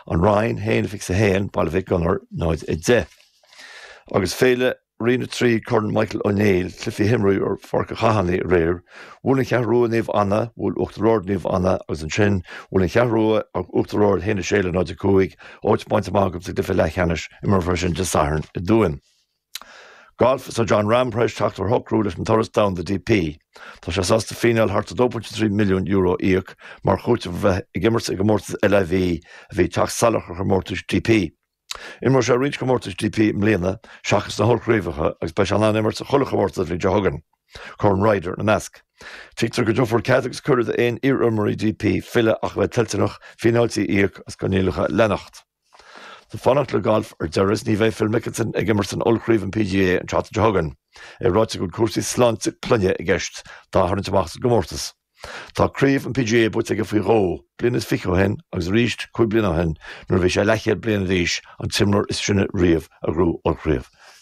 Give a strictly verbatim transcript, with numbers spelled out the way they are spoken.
An Rinn haon fiche a haon, Baile Mhic Gonair náid a deich. Agus Féile Roinn a trí Corn Michael Ó Néill, cluichí a himríodh ar Pháirc an Chathánaigh aréir, bhuail an Cheathrú Rua Naomh Anna, bhuail Uachtar Ard Naomh Anna agus ansin bhuail an Cheathrú Rua Uachtar Ard haon a sé le náid a cúig, áit bainte amach acu sa gcluiche leathcheannais, imreofar sin Dé Sathairn i dTuaim. Golf Tá Jon Rahm tar éis teacht ar shocrú leis an turas domhanda D P. Tá sé sásta fíneáil thart dó pointe trí milliún euro a íoc mar chúiteamh a bheith ag imirt i gcomórtas L I V a bhí teacht salach ar chomórtais D P. Imreoidh sé roinnt comórtais D P i mbliana seachas na hollchraobhacha agus beidh sé in ann imirt sa chuile chomórtas an bhliain seo chugainn. Corn Ryder ina measc. Tuigtear go dtabharfar cead agus cuireadh d'aon iarimreoirí D P filleadh ach a bheith toilteanach fíneáiltí a íoc as coinníollacha a leanacht. Tá fanacht le golf ar deireadh ní bheidh Phil Mickelson ag imirt san ollchraobh an P G A an tseachtain seo chugainn. É ráite go bhfuil cúrsaí sláinte clainne i gceist dá tharraingt amach sa gcomórtas. Tá craobh an P G A buaite aige faoi dhó, bliain is fiche ó shin agus arís cúig bliana ó shin nuair a bhí sé leathchéad bliain d'aois, an t-imreoir is sine riamh a ghnóthaigh ollchraobh.